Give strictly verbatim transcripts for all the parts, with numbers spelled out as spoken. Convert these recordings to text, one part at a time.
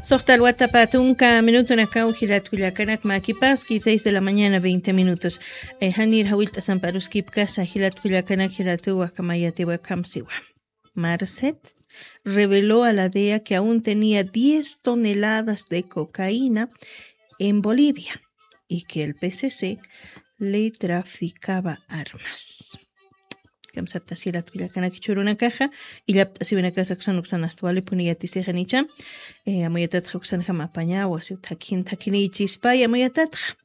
Soxta alwata patunka minutunakaw jilat kullakanak makipaski seis de la mañana veinte minutos. Janir jawilt'asampa aruskipkasa jilat kullakanak jilatuwa kamayatiwa kamsiwa. Marcet reveló a la dea que aún tenía diez toneladas de cocaína en Bolivia y que el P C C le traficaba armas. Kamsaptasilat kullakanaki churunakaxa, illapt'asiwinakasa kusan uksanastwali puni yatisixanicha. Amuyatatxa uksan jamapañawa siw thakin thakiniychispay amuyatatxa.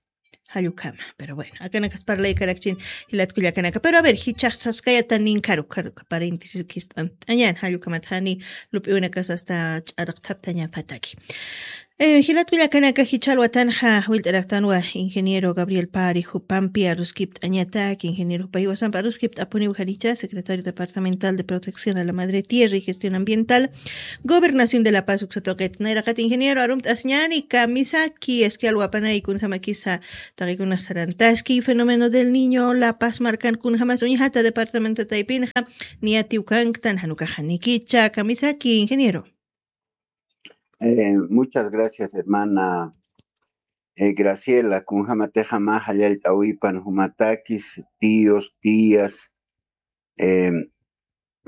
Jallukama. Pero bueno, akanakas parlay karakchin jilat kullakanaka, pero a ver jichaxsaskayata ninkaru karuka paréntesis ukist'ant'añan jallukamatxani. Lup'iwinakasasta ch'arqthaptañapataki. Jilat kullakanaka jichal watanxa wilt'araktanwa ingeniero Gabriel Pari jupampi aruskipt'añatak ingeniero jupayiwasampa aruskipt'apuniw janicha secretario departamental de protección a la madre tierra y gestión ambiental, gobernación de la paz uksatoqet nayraqat ingeniero arumt'asñani kamisaki eskial wapanaykun jamakisa. Taqikunas sarantaski fenómeno del niño la paz markan kun jamas uñjata departamento taypinxa. Niyatiw kanktan janukaxanikicha kamisaki ingeniero. Muchas gracias hermana. Graciela kunjama texa ma jallallt'awipan jumatakis tíos tías,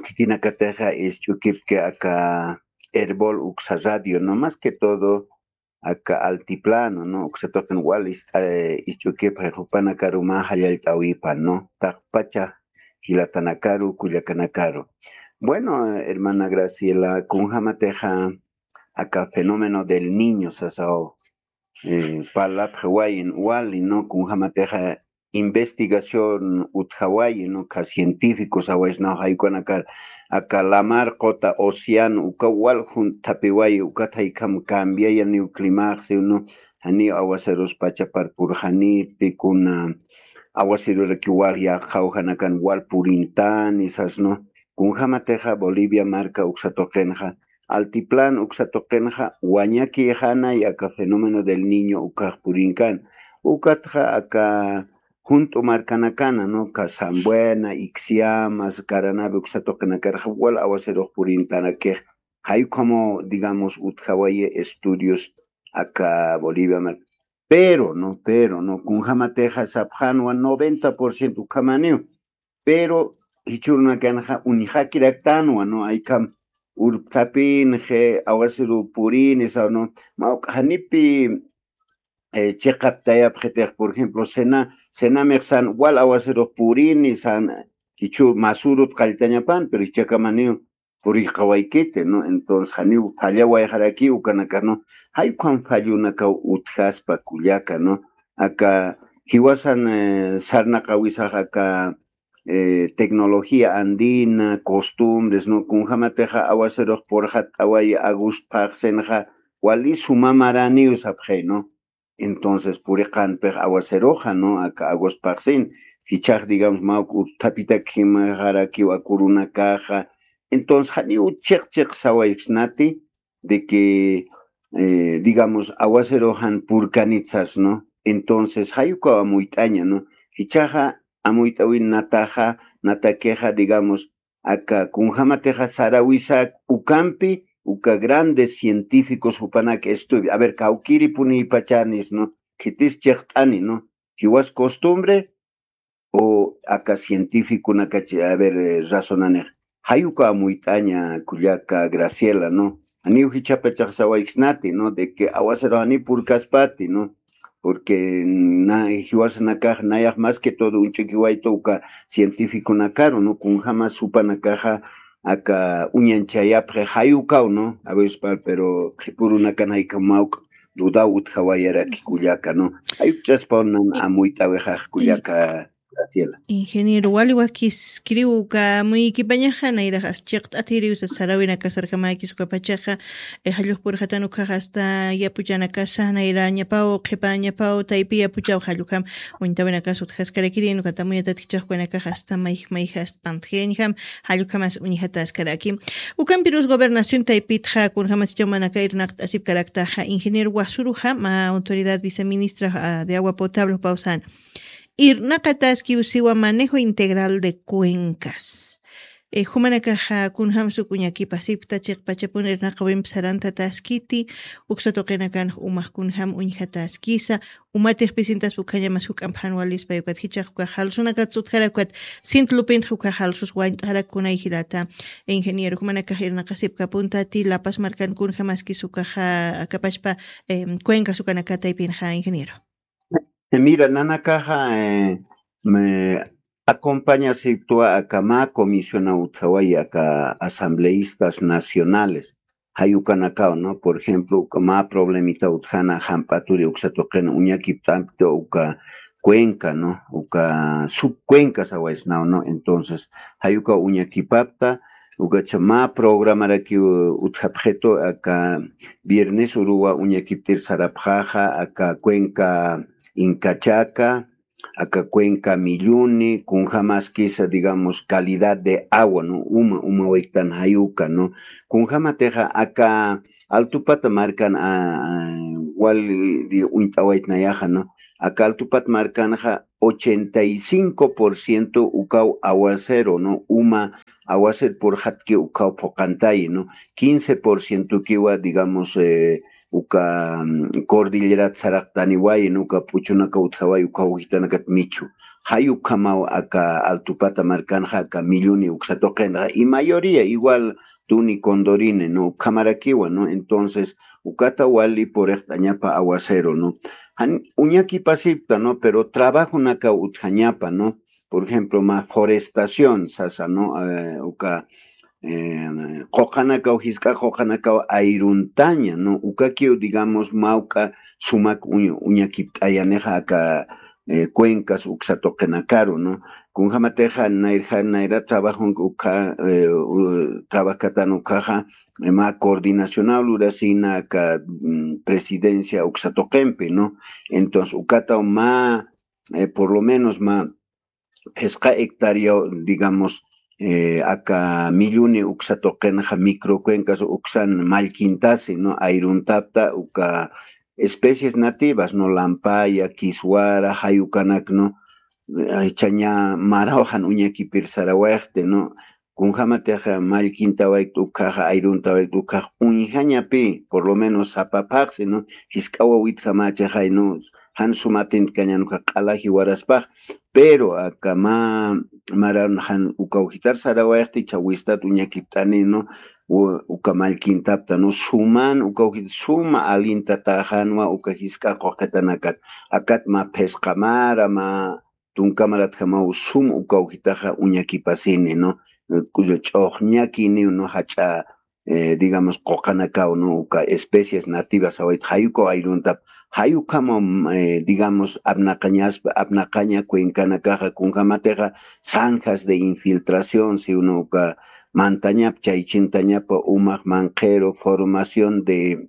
kikinaka texa isch'ukipki aka herbol uksa radio no más que todo aka altiplano no uksatoqin wal isch'ukipxi jupanakaru ma jallallt'awipan no taqpacha jilatanakaru kullakanakaru. Bueno, hermana graciela kunjama texa aka fenómeno del niño sasaw, parlapxi wayin wali no kunjama texa investigación utjawayi no ka científico sawaysnaw jaykunakar aka lamar qota océano uka wal junt'thapiwayi ukat jaykam cambiayaniw climaxsiw no. Janiw awaserus pachapar purxaniti kuna awaseruraki wal yaqxaw janakan wal purintani sasno. Kunjama texa bolivia marka uksatoqinxa altiplano uksatoqinxa wañakixanay aka fenómeno del niño ukax purinkan. Ukatxa aka junt'u markanakana no ka sambuena ixiamas karanabi uksatoqinakarxa wal awaserux purintanakix. Jayukhamu digamos utjawayi estudios aka bolivia marka. Pero no pero no kunjama texa sapxanwa noventa por ciento ukhamaniw. Pero jichhurunakanxa uñjakiraktanwa no aykham urpthapinxi awasiru purini sawno. Mawk'xanipi chiqaptayapxitix por ejemplo cena cenamix san wal awasirux purini san jichhur masurut qalltañapan pero jichhakamaniw purixqawaykiti no entonces janiw fallawayxarakiw ukanakanu. Jaykham fallunakaw utjaspa kullaka no aka jiwasan sarnaqawisax aka tecnología andina costumbres no kunjamatixa awasirux purxatt'awayi agosto phaxsinxa wali suma maraniw sapxi no. Entonces puriqanpix awaseruxa no aka agosto phaxsin jichhax digamos mawk urthapitak jimxarakiw akurunakaxa. Entonces janiw chiq chiq sawaysnati de que digamos awaseruxan purkanitsas no. Entonces jayukaw amuyt'aña no jichhaxa amuyt'awin nataxa natakixa digamos aka kunjamatixa sarawisak ukampi uka grandes científicos jupanak estudio a ver kawkiripunïpachanis no khitis chiqt'ani no jiwas costumbre o aka cientificonakachi a ver razonanix. Jayuka amuyt'aña kullaka graciela no janiw jichhapachaxsawaykisnati no de que awasirux janiw purkaspati no porque jiwasanakax nayax más que todo uñch'ukiwayta uka cientificonakaru no kunjama supanakaxa aka uñanchayapxi jayukaw no awispar pero qhipurunakan jayka mawk dudaw utjawayaraki kullaka no. Jayukchaspaw nan amuyt'awixax kullaka. Graciela. Ingeniero wali wakiskiriw uka amuykipañaxa nayrax as chiqt'atiriw sasarawinakasarkamäkis ukapachaxa. Jallux purxatan ukhax asta yapuchanakasa nayrañapaw qhipañapaw taypi yapuchaw jallukham uñtawinakas utjaskarakiri nukatamuyatatkichaxkuwanakax asta mayj mayja asta pantjiyañjam. Jallukhamas uñjataskaraki. Ukampirus gobernación taypitxa kunjamasichaw manaka irnaqt'asipkaraktaxa ingeniero wasuruxa ma autoridad viceministra de agua potable pawsan irnaqataskiw siwa manejo integral de cuencas. Eh, jumanakaxa kunjam suk uñakipasipkta chiqpachapun irnaqawimp sarantataskiti, uksa tuqinakan umax kunjam uñjataskisa, umatix pisintas ukhañamas juk'amp jan walispa ukat jichax ukax jalsunakat sutjarakukat sint lupintx ukax jalsus wañt'arak kunay jilata. Ingeniero, jumanakax irnaqasipkapuntati lapas markan kunjamaskis ukaxa akapachpa, em, cuencas ukanakataypinxa, ingeniero. Mira, nanakaxa, eh, me acompaña siptwa aka mä comisión utjaway aka asambleístas nacionales. Jayukanakaw, ¿no? Por ejemplo, uka mä problemita utjana jamp'aturi uksa tuqin uñakipt'ampta uka cuenca, ¿no? Uka subcuenca sawaysnaw, ¿no? Entonces, jayuka uñakipapta, ukacha mä programarakiw utjapxitu aka viernes uruwa uñakiptir sarapxaxa, aka cuenca Incachaka, aka cuenca Milluni, kunjamaskisa, digamos, calidad de agua, ¿no? Uma, uma wiktan jayuka, ¿no? Kunjamatixa aka Altupata markan, a, a, wal, di, uñt'awaytnayaxa, ¿no? Aka Altupata markanxa ochenta y cinco por ciento ukaw aguacero, ¿no? Uma aguacero purxatki ukaw phuqantayi, ¿no? Quince por ciento kiwa, digamos, eh, uka, mm, cordillerat saraqtaniwayi, ¿no? Uka p'uchunaka utjaway, uka ujitanakat michu. Jay ukhamaw aka Altupata markanxa, aka Milluni uksa tuqinxa. Y mayoría igual Tuni, Condorine, ¿no? Ukhamarakiwa, ¿no? Entonces, ukata wali puriqt'añapa aguacero, ¿no? Jan uñakipasipta, ¿no? Pero trabajonakaw utjañapa, ¿no? Por ejemplo, mä forestación sasa, ¿no? Eh, uka, eh, quqanakaw, jisk'a quqanakaw ayruntaña, ¿no? Ukakiw, digamos, mawk'a sumak uñ-, uñakipt'ayanixa aka, eh, cuencas uksa tuqinakaru, ¿no? Kunjamatixa nayrja, nayra trabajon ukha, eh, u-, trabajkatan ukhaxa, eh, mä coordinacionaw lurasina aka, mm, presidencia uksa tuqimpi, ¿no? Entonces, ukataw mä, eh, por lo menos mä phisqa hectárea, digamos, eh, aka Milluni uksa tuqinxa microcuencas uksan mallkintasi, ¿no? Ayruntapta uka especies nativas, ¿no? Lampaya, kiswara, jayukanak, ¿no? Ay, chaña maraw jan uñakipir sarawayxti, ¿no? Kunjamatixa mallkintawaykt ukhaxa, ayruntawaykt ukhax uñjañapi, por lo menos sapa phaxsi, ¿no? Jisk'a wawitjamachaxay, ¿no? Jan sumatintkañan ukha q'ala jiwaraspax, pero aka mä, maran jan uka ujitar sarawayxti, chawistat uñakipt'ani, ¿no? U-, uka mallkintapta, ¿no? Suman uka ujit suma alintataxanwa uka jisk'a quqitanakat. Akat mä phisqa mara, mä tunka maratjamaw sum uka ujitaxa uñakipasini, ¿no? Eh, ku-, ch'uxñakini, ¿no? Jach'a, eh, digamos, quqanakaw, ¿no? Uka especies nativas sawayt jayukaw ayruntap, jayukama, eh, digamos, apnaqañaspa, apnaqaña cuencanakaxa, kunjamatixa, zanjas de infiltración, si uno uka mantañap, chaychintañapa, umax manqhiru, formación de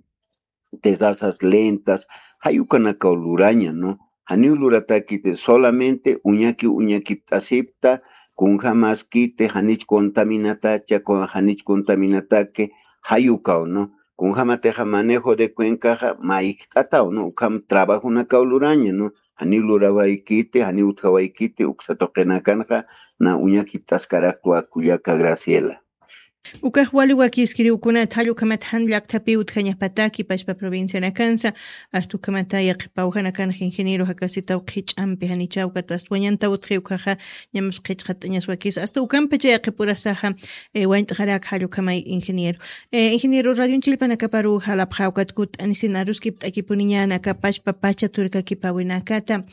terrazas lentas, jayukanakaw luraña, ¿no? Janiw luratakiti, solamente uñaki uñakipt'asipta, kunjamaskiti, janich contaminatacha, kun-, janich contaminataki, jayukaw, ¿no? Kunjamatixa manejo de cuencaxa, mayk'ataw, ¿no? Ukham trabajonakaw luraña, ¿no? Janiw lurawaykiti, janiw utjawaykiti, uksa tuqinakanxa, na uñakipt'askaraktwa kullaka Graciela. Ukax wali wakiskiriw kunat jall ukhamat jan llakthapiw utjañapataki pachpa provincianakansa, asta ukhamata yaqhipaw janakanx ingeniero jakasitaw qhich'ampi janichaw ukat asta wañantaw utji ukaxa, ñamas qhichqat'añas wakis, asta ukampacha yaqhipurasaxa, eh, wañt'xarak jall ukhamay ingeniero. Eh, ingeniero, radion chillpanakaparu jalapxa ukat kut'anisin aruskipt'akipuniñanaka pachpa pacha turkakipawinakata.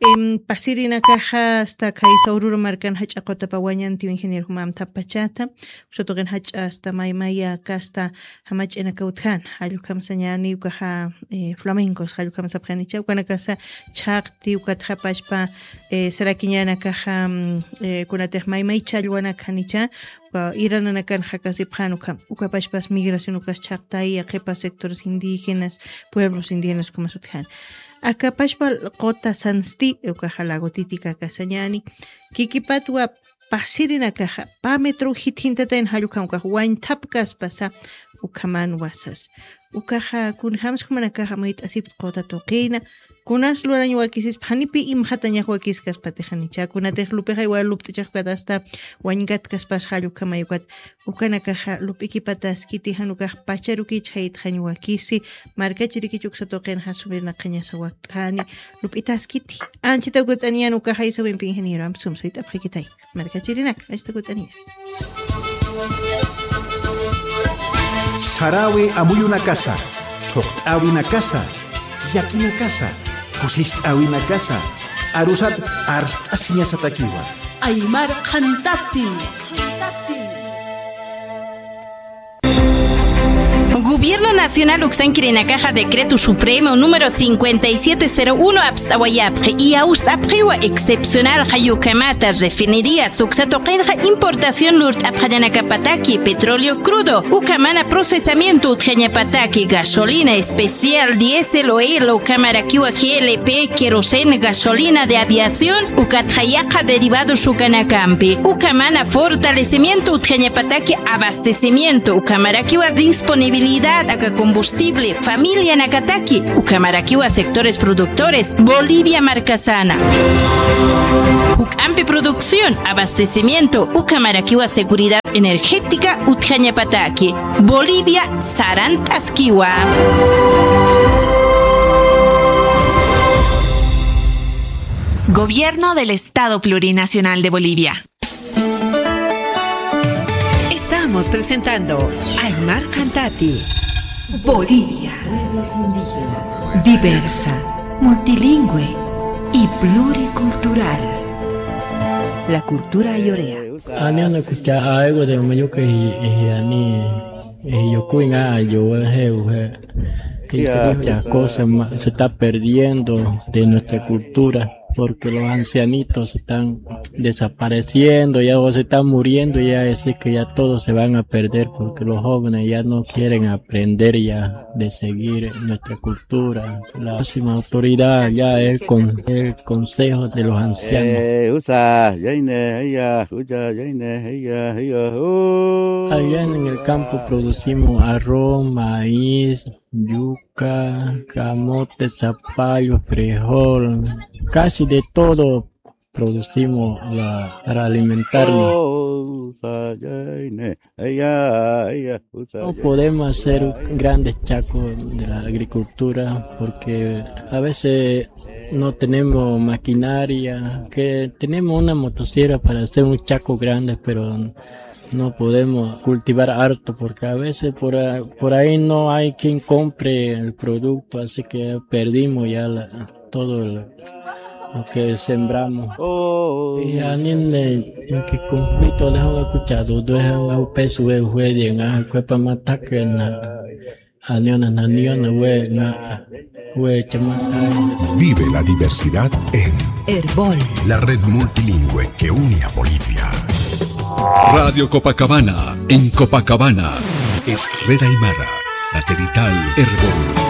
Em, pasirinakaxa asta khaysa ururu markan jach'a qutapa wañantiw ingeniero jumamtha pachata. Usa tuqin jach'a asta maymaya kasta jamach'inaka utjan, jall ukham sañani ukaxa, eh, flamencos, jall ukham sapxanicha, ukanakasa chhaqti, ukat japachpa, eh, sarakiñanakaxa, mm, eh, kunatix maymay challwanakxanicha, uka irananakan jakasipxan ukham, ukapachpas migración ukas chhaqtay, yaqhipas sectores indígenas, pueblos indígenas ukhamas utjan. Akapachpa quta sansti, ukaxa lago Titicaca sañani, kikipatwa pasirinakaxa, pä metro jitjintatayn jall ukham ukax wañthapkaspasa, ukhamanwa sas. Ukaxa, kunjams jumanakaxa mayt'asipkt quta tuqina, Kunas lurañ wakisispa janipi imxatañax wakiskaspatix janicha. Kunatix lupixay wal lupt'ichax ukat asta wañkatkaspas jall ukhamay ukat. Ukanakaxa lup'ikipataskiti jan ukax pacharukich jaytxañ wakisi. Markachirikich uksa tuqinxa sumirnaqañasa wakt'ani lup'itaskiti. Anchita ukut'aniyan ukaxa isawimpi ingeniero amp sum suyt'apxakitay. Markachirinak, astakutanina. Sarawi amuyunakasa, thuqt'awinakasa, yakinakasa, kusist'awinakasa, arusat arst'asiñasatakiwa. Aymar qhantati. Gobierno Nacional uksankirinakaxa Decreto Supremo número cincuenta y siete cero uno apst'awayapxi, y awst'apxiwa excepcional jayukamata refinerías uksa tuqinxa importación lurt'apxañanakapataki petróleo crudo, ukamana procesamiento utjañapataki gasolina especial, diésel, oil, ukamarakiwa G L P, queroseno, gasolina de aviación, ukatxa yaqha derivados ukanakampi, ukamana fortalecimiento utjañapataki abastecimiento, ukamarakiwa disponibilidad aka combustible familianakataki, ukamarakiwa sectores productores Bolivia markasana. Juk'ampi producción, abastecimiento, ukamarakiwa seguridad energética utjañapataki. Bolivia sarant'askiwa. Gobierno del Estado Plurinacional de Bolivia. Estamos presentando Aymar Qhantati, Bolivia. Pueblos indígenas. Diversa, multilingüe y pluricultural. La cultura ayorea. Ani una kucha aiwa de mayuka y, y ani, y yo kuinga yo he, he, que muchas cosas ma- se está perdiendo de nuestra cultura, porque los ancianitos se están desapareciendo, ya o se están muriendo, ya es que ya todos se van a perder, porque los jóvenes ya no quieren aprender ya de seguir nuestra cultura. La máxima autoridad ya es con el Consejo de los Ancianos. Eh, usa, yaine, ella, uya, yaine, ella, ella, uh. Allá en el campo producimos arroz, maíz, yuca, camote, zapallo, frijol, casi de todo producimos la, para alimentarnos. Oh, usa, yaine, ella, ella, usa, no yaine, podemos hacer ella, ella. Grandes chacos de la agricultura porque a veces no tenemos maquinaria, que tenemos una motosierra para hacer un chaco grande, pero no podemos cultivar harto porque a veces por, a- por ahí no hay quien compre el producto, así que perdimos ya la- todo el- lo que sembramos. Oh. Y anime, que conflicto de agua escuchado, de agua peso, de juegue, en agua, cuerpo, mataque, na- Aniona, naniona, we, na, we, chama, ay. Vive la diversidad en Erbol, la red multilingüe que une a Bolivia. Radio Copacabana, en Copacabana. Es Red Aymara, satelital Erbol.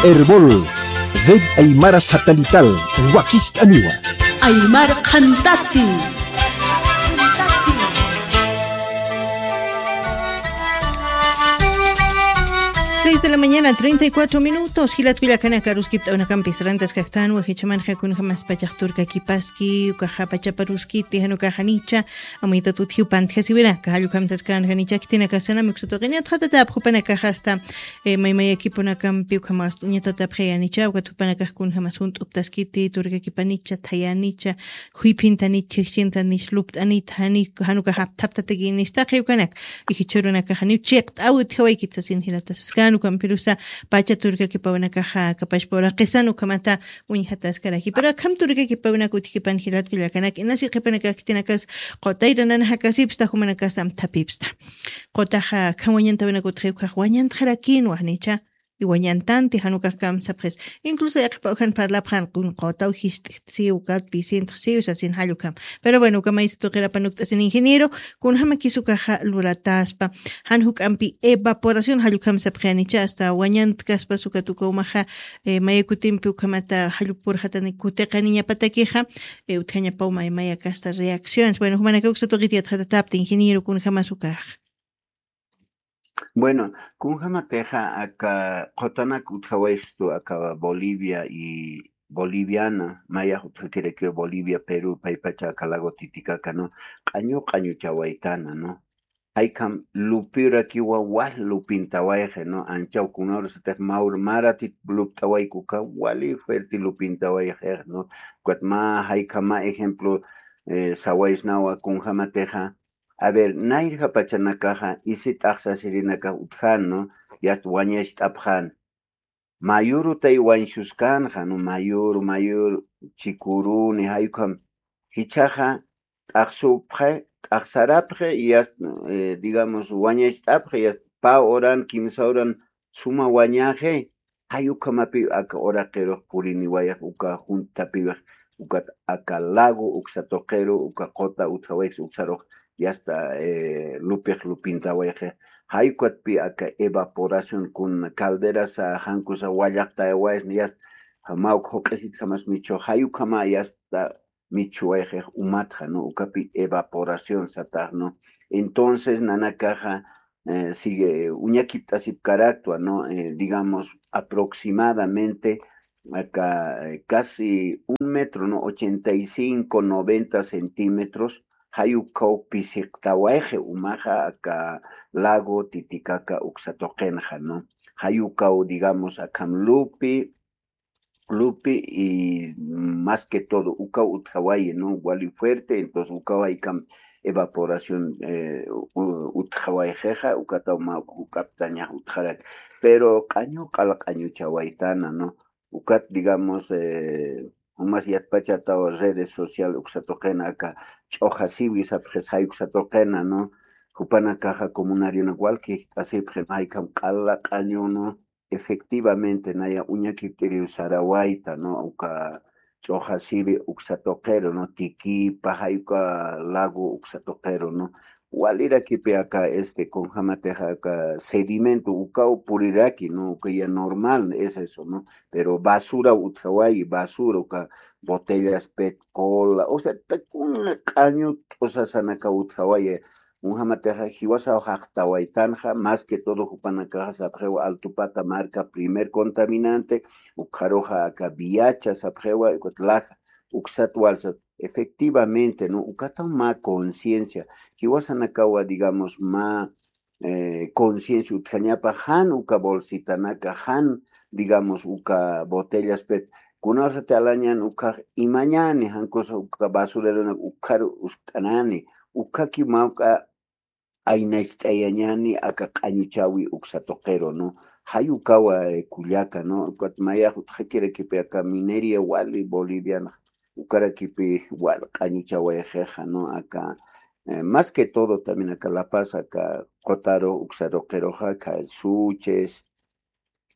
Erbol, Red Aymara Satelital, wakist'aniwa. Aymar Qhantati. Seis de la mañana, treinta y cuatro minutos. Jilat kullakanaka, aruskipt'awinakampis rantas kaktan, wajichamanxa kunjamas pachax turkakipaski, ukaxa pachaparuskiti, jan ukaxa janicha, amuytat utjiw pantjasiwinaka, jall ukham saskan janicha, khitinakasanam uksa tuqinit, jatatap jupanakaxa asta, eh, maymayakipunakampi, ukhamas uñatatapxi janicha, ukat jupanakax kunjamas junt'uptaskiti, turkakipanicha, thayanicha, juyphintanich, chhijchintanich, lupt'anit, jani, jan ukax apthaptatakïnich, taqi ukanak, y jichhürunakax janiw chiqt'aw utjawaykit sasin jilata saskan, ukampirusa pacha turkakipawinakaxa, kapachpa uraqisan ukhamata uñjataskaraki. Pero akham turkakipawinaka utjkipan jilat kullakanak, inasi qhipanakax khitinakas qutayranan jakasipsta, jumanakas amthapipsta. Qutaxa akham wañantawinaka utji ukax wañantxarakinwa janicha, y wañantanti jan ukax kamsapxis. Incluso yaqhipaw jan parlapxan kun qutaw jist'ixt'siw, ukat pisintxsiw sasin jall ukham. Pero bueno, uka maysa tuqirapan ukt'asin ingeniero, kunjamakis ukaxa lurataspa. Jan juk'ampi evaporación jall ukham sapxi janicha, asta wañantkaspas ukat uka umaxa, eh, maya kutimpi ukhamata jall purxatani kutiqaniñapatakixa, eh, utjañapaw may maya kasta reacciones. Bueno, jumanaka uksa tuqit yatxatatapta ingeniero kunjamas ukaxa. Bueno, kunjamatixa aka qutanak utjawaystu aka Bolivia y Boliviana, mayax utjakirakiwa Bolivia, Perú, paypacha aka lago Titicaca, ¿no? Q'añu q'añuchawaytana, ¿no? Jaykam lupirakiwa wal lupintawayxi, ¿no? Anchaw kunawrasatix mawr maratit lupt'awayku uka wali fuerte lupintawayxix, ¿no? Ukat mä jaykama ejemplo, eh, sawaysnawa kunjamatixa, a ver, nayrja pachanakaxa isi t'axsasirinakax utjan, ¿no? Yast wañacht'apxan. Mayurutay wañsuskanxa, ¿no? Mayuru, mayuru, chikuruni, jaykham jichhaxa t'axsupxi, t'axsarapxi, yast, eh, digamos, wañacht'apxi, yast pä horan, kimsa horan suma wañaxi, jay ukhamapi aka uraqirux puriniwayax uka junt'apiwax, ukat aka lago uksa tuqiru, uka quta utjawayx uksarux, yasta, eh, lupix lupintawayxi. Jay ukatpi aka evaporación kun calderasa, jankusa wallaqtayawaysna, yasta, mä uk juq'isit jamas michu, jay ukhama yasta michuwayxix umatxa, ¿no? Ukapi evaporación satax, ¿no? Entonces, nanakaxa, eh, sigue, uñakipt'asipkaraktwa, ¿no? Eh, digamos, aproximadamente, acá, eh, casi un metro, ¿no? Ochenta y cinco, noventa centímetros, jay ukaw pisiqtawayxi umaxa, aka lago Titicaca uksa tuqinxa, ¿no? Jay ukaw, digamos, akham lupi, lupi y más que todo, ukaw utjawayi, ¿no? Wali fuerte, entonces ukaw jaykam evaporación, eh, u-, utjawayxixa, ukataw mä juk'aptañax utjarak. Pero q'añu q'ala q'añuchawaytana, ¿no? Ukat, digamos, eh, jumas yatpachataw redes social uksa tuqina aka ch'uxasiwi sapxis jay uksa tuqina, ¿no? Jupanakaxa comunarionak wal kijt'asipxi, ¿no? Jaykam q'ala q'añu, ¿no? Efectivamente, naya uñakipt'iriw sarawayta, ¿no? Uka ch'uxasiwi uksa tuqiru, ¿no? Tikipa, jay uka lago uksa tuqiru, ¿no? Walirakipi aka, este, kunjamatixa aka sedimento, ukaw puriraki, ¿no? Uka ya normal es eso, ¿no? Pero basura utjawayi, basura, uka botellas pet, cola, o sea, ta kuna q'añu t'usasanaka utjawayi, kunjamatixa jiwasaw jaqtawaytanxa, más que todo jupanakaxa sapxiwa Altupata marca primer contaminante, ukxaruxa aka viacha sapxiwa, ukat laja, uksat walsat, efectivamente, ¿no? Ukataw mä conciencia, jiwasanakawa, digamos, mä, eh, conciencia utjañapa, jan uka bolsitanaka, jan, digamos, uka botellas pet, kunawsati alañan ukax imañani, jankusa uka basureronak ukxaru uskt'anani, ukhaki mawk'a aynacht'ayañani aka q'añuchawi uksa tuqiru, ¿no? Jay ukawa, eh, kullaka, ¿no? Ukat mayax utjakirakipi aka minería wali boliviana, ukarakipi wal q'añuchawayxixa, ¿no? Aka, eh, más que todo también aka La Paz, aka qutaru uksa tuqiruxa, aka Suches,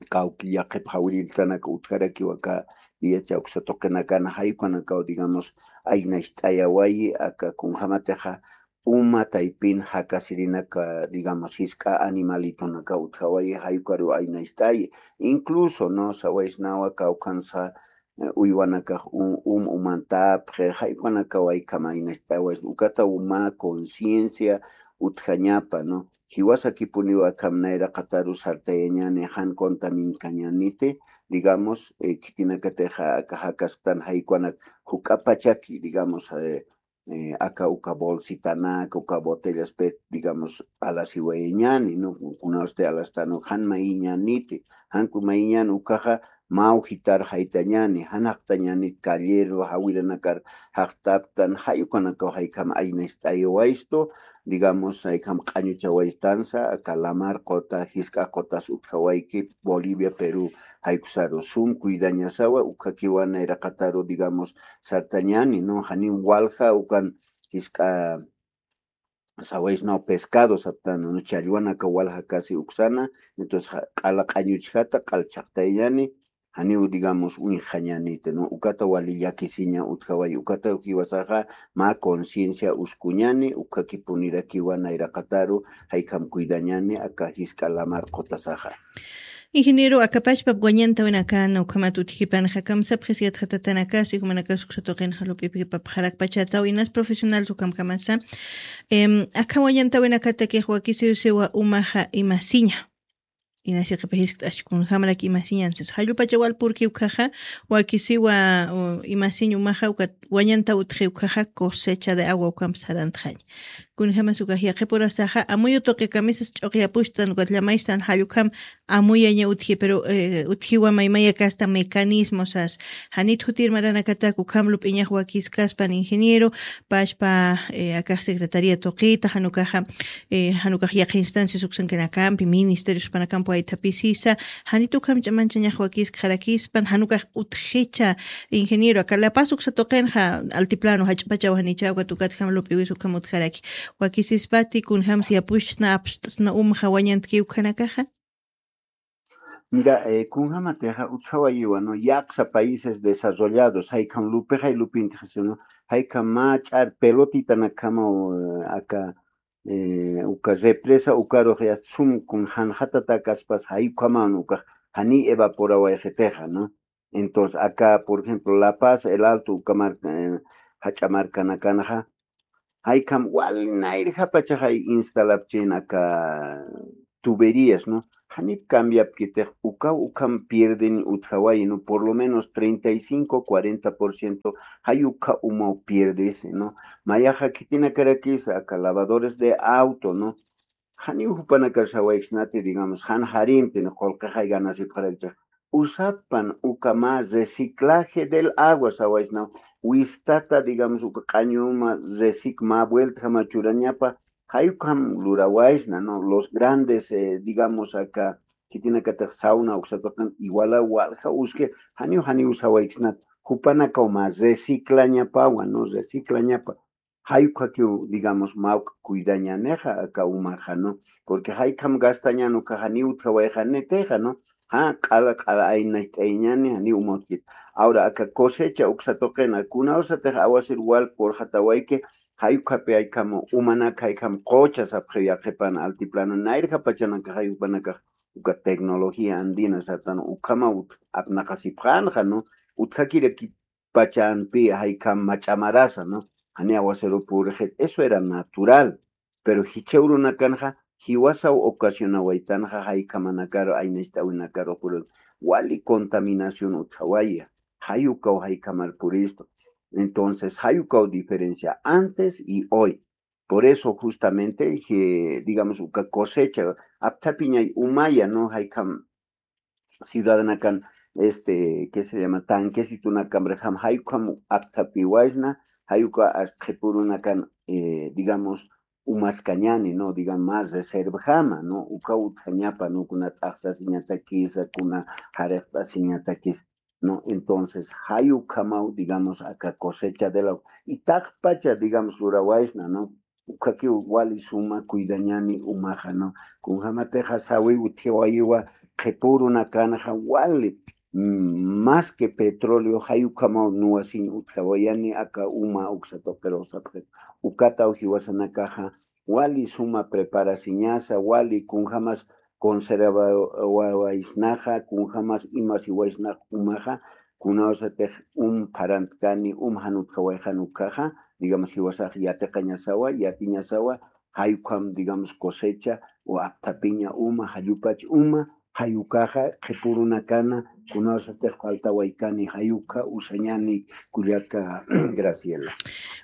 kawki yaqhip jawiritanak utjarakiw aka viacha uksa tuqinakan, jay ukanakaw, digamos, aynacht'ayawayi, aka kunjamatixa uma taypin jakasirinaka, digamos, jisk'a animalitonaka utjawayi, jay ukaruw aynacht'ayi. Incluso, ¿no? Sawaysnawa kawkhansa, eh, uywanakax um, um umantapxi, jay ukanakaw jaykham aynacht'awayi, ukataw mä conciencia utjañapa, ¿no? Jiwasakipuniw akham nayraqataru sartayañani, jan contaminkañaniti, digamos, eh, khitinakatixa aka jakasktan jay ukanak juk'apachaki, digamos, eh, eh, aka uka bolsitanaka, uka botellas pet, digamos, alasiwayañani, ¿no? Kunawsti alastanu, jan mayiñaniti, janku mayiñan ukaxa, mä ujitar jaytañani, jan jaqtañani, calleru, jawiranakar jaqtaptan, jay ukanakaw jaykham aynacht'ayawayistu, digamos, jaykham q'añuchawaytansa, aka lamar quta, jisk'a qutas utjawayki, Bolivia, Perú, jay uksaru sum cuidañasawa, ukhakiwa nayraqataru, digamos, sartañani, ¿no? Janiw walja ukan jisk'a sawaysnaw pescado saptan, ¿no? Challwanaka walja casi uksana, entonces, ja-, q'ala q'añuchjata, q'al chhaqtayañani, janiw, digamos, uñjañaniti, ¿no? Ukata wali llakisiña utjawayi, ukata jiwasaxa mä conciencia uskuñani, ukhakipunirakiwa nayraqataru, jaykham cuidañani, aka jisk'a lamar qutasaxa. Ingeniero, akapachpap wañantawinakana ukhamat utjipanxa kamsapxis yatxatatanakasi jumanakasuksa tuqinxa lup'ipkipapxarakpachataw inas profesional sukamkamasa. Akha wañantawinakatakix wakisiwsiwa umaxa imasiña. Inasiqipajiskt'ax kunjamarak imasiñansis jallupachawal purki ukhaxa wakisiwa imasiñ umaxa ukat wañantaw utji ukhaxa cosecha de agua ukamp sarantxañ. Kunjamas ukax yaqhipurasaxa amuyu tuqi kamisas ch'uqyapuxtan ukat llamaystan jallukam amuyaña utji pero utjiwa maymaya kasta mecanismosas. Janit jutir maranakatak ukham lup'iñax wakiskaspan ingeniero pachpa akax secretaria tuqita janukaxa janukax yaqha instancias uksankinakampi ministerios panakampi waythapisisa. Janit ukham ch'amanchañax wakiskxarakispan janukax utjicha. Ingeniero aka lapas uksa tuqinxa altiplano jach'pachaw janichaw ukat ukatjam lup'iwis ukham utjaraki wakisispati kunjams yapushna apst'sna umxa wañantki ukhanakaxa. Mira, kunjamatixa utjawayiwa no yaqsa países desarrollados jaykham lupixay lupintixisino jaykham mä ch'ar pelotitanakjamaw aka uka represa ukarux yasta sum kun janxatatakaspas jaykhamawn ukax janiy evaporawayxitixa no. Entonces acá por ejemplo La Paz, El Alto uka marka jach'a markanakanxa jaykham wali nayrjapachaxay instalapchin aka tuberías no. Janip cambiapkitix ukaw ukham pierdin utjawayi no por lo menos treinta y cinco cuarenta por ciento jay ukha umaw pierdisi no. Mayaxa khitinakarakisa aka lavadores de auto no. Janiw jupanakar sawayksnati digamos jan jarintin qullqixay ganasipxarakchix usapan uka mä reciclaje del agua sawaysnaw. Wistata digamos uka q'añuma recic mä vueltjama churañapa jayukham lurawaysna no los grandes digamos aka khitinakatix sawna uksatuqan iguala walja uski janiw janiw sawayksnat jupanakaw mä reciclañapawa no reciclañapa. Jayukhakiw digamos mawk cuidañanixa aka umaxa no. Porque jaykham gastañan ukaxa niw utjawayxanitixa no ja q'ala q'ala aynacht'ayñani janiw umawtkit. Ahora aka cosecha uksa tuqina kunawsatix awasir wal purxatawayki jayukhapi jaykham umanak jaykham qucha sapxiw yaqhipan altiplano nayrjapachanakax jayupanakax uka tecnología andina sartan ukhamaw apnaqasipxanxa no. Utjakiraki pachanpi jaykham mach'amarasa no. Jani awasiru purixit eso era natural. Pero jichha urunakanxa jiwasaw ocasionawaytanxa jaykhamanakaru aynacht'awinakaru purix wali contaminación utjawaya. Jayukaw jaykhamar puristu. Entonces jayukaw diferencia antes y hoy. Por eso justamente digamos uka cosecha apthapiñay umaya no jaykham ciudadanakan este que se llama tanquesitunakamrixam jayukham apthapiwaysna jayuka astqipurunakan digamos umaskañani no digamos más reservjama no uka utjañapa no kuna t'aqsasiñatakisa kuna jarixt'asiñatakisa no. Entonces jayukhamaw digamos aka cosecha de la y taqpacha digamos lurawaysna no. Ukhakiw wali suma cuidañani umaxa no. Kunjamatixa sawi utjiwayiwa qhipurunakanxa wali más que petróleo jayukhamaw nuwasiñ utjawayani aka uma uksatuqirusapxit. Ukataw jiwasanakaxa wali suma preparasiñasa wali kunjamas conservawaysnaxa kunjamas imasiwaysnax umaxa. Kunawsatix um pharantkani um jan utjawayxan ukhaxa digamos jiwasax yatiqañasawa yatiñasawa jayukham digamos cosecha o apthapiña uma jallupach uma jayukaxa qhipurunakana. Kunawsatix faltawaykani jayukha usañani kullaka graciela.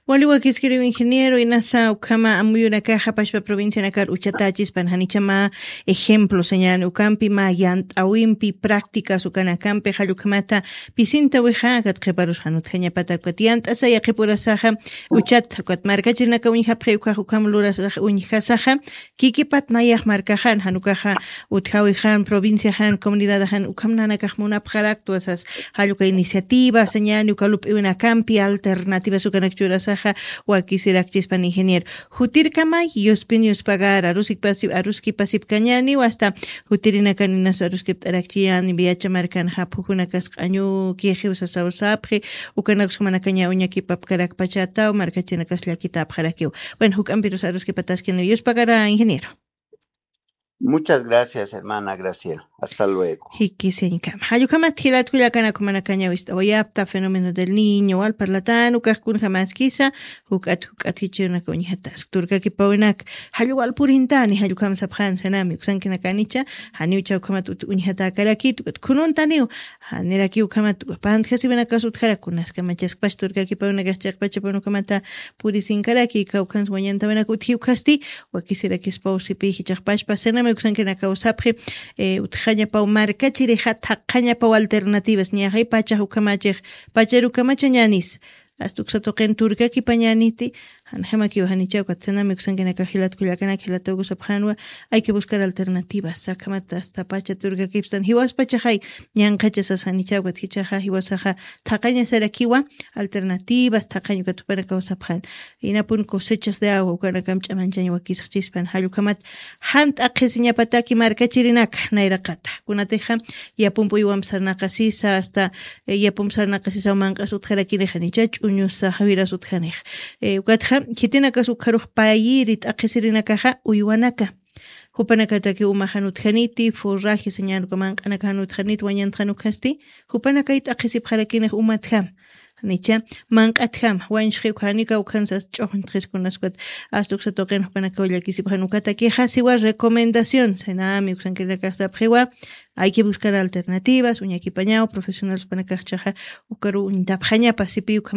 Wali wakiskiriw ingeniero inasa ukhama amuyunakaxa pashpa provincianakar uchatachispan janichama ejemplo sañani ukampi ma yant'awimpi prácticas ukanakampi jallukhamata pisinta wixa akat qhiparus janutjañapata ukat yant'asaya qhipurasaxa uchat ukat markachirinaka uñjapxi ukhax ukham lurasax uñjasaxa kikipat nayax markaxan janukaxa utjawi jan provincia jan comunidad jan ukham nanakax munapxaraktu asas jalluka iniciativa sañani uka lup'iwinakampi alternativas ukanak churasaxa wakisirakchispan ingeniero jutirkamay yuspin yuspagar arusikpasip aruskipasipkañani wasta jutirinakaninas aruskipt'arakchiyani viacha markan japhukunakas q'añu kixiw sasawsapxi ukanakus jumanakaña uñakipapkarakpachataw markachinakas llakitapxarakiw. Bueno juk'ampirus aruskipataskini yuspagara ingeniero. Muchas gracias, hermana Graciela. Hasta luego. Jikisiñkam. Jallukhamat jilatkullakanakumanakañawist'awayapta fenómeno del niño wal parlatan ukaqkunjamaskisa juk'at juk'at jichirunaka uñjatask turkakipawinaka. Jalluwal purintani jallukham sapxan sanami uksankinakanicha. Janiw chawkhamat uñjatakarakit ukat khununtaniw. Janirakiw ukhamat uka pantjasiwinakas utjarakunaskamachaskpash turkakipawinakax chiqpachapanukamata purisinkaraki kawkhansa wañantawinak utji ukhasti. Wakisirakispaw sipi jichaqpashpa sanami uksankinakaw sapxi. Utjañapaw markachirixa thaqhañapaw alternativas ñaxay pachax ukhamachix. Pacharukamachañanis asta uksatuqin turkakipañaniti. Janjamakiw janichawkat sanami uksankinakax jilatkullakanaka jilatawkusapxanwa. Ayki buscar alternativas sakhamata asta pacha turkakipstan jiwaspachaxay. Ñanqhachasas janichawkat jichaxa jiwasaxa thaqañasarakiwa. Alternativas thaqañ ukat jupanakaw sapxan. Inapun cosechas de agua ukanakam ch'amanchañ wakisxchispan jallukhamat. Jan t'aqhisiñapataki markachirinaka nayraqata kunatixa. Yapump uywamp sarnaqasisa asta yapump sarnaqasisaw manq'as utjarakinixa nicha ch'uñusa jawiras utjanix. Ukatxa khitinakas ukharux payiri t'aqhisirinakaxa uywanaka. Jupanakataki umaxan utjaniti forraje sañanuka manq'anakaxan utjaniti wañantxan ukhasti. Jupanakay t'aqhisipxarakinix umatjam nicha manq'atjam wañchxi ukhanika ukhansas ch'uxñtxiskunaskat. Asta uksatuqin jupanakaw llakisipxan ukatakixa siwa recomendación sanami uksankirinakax sapxiwa. Ayki buscar alternativas uñakipañaw profesional jupanakaxchaxa ukaru uñtapxañapa sipi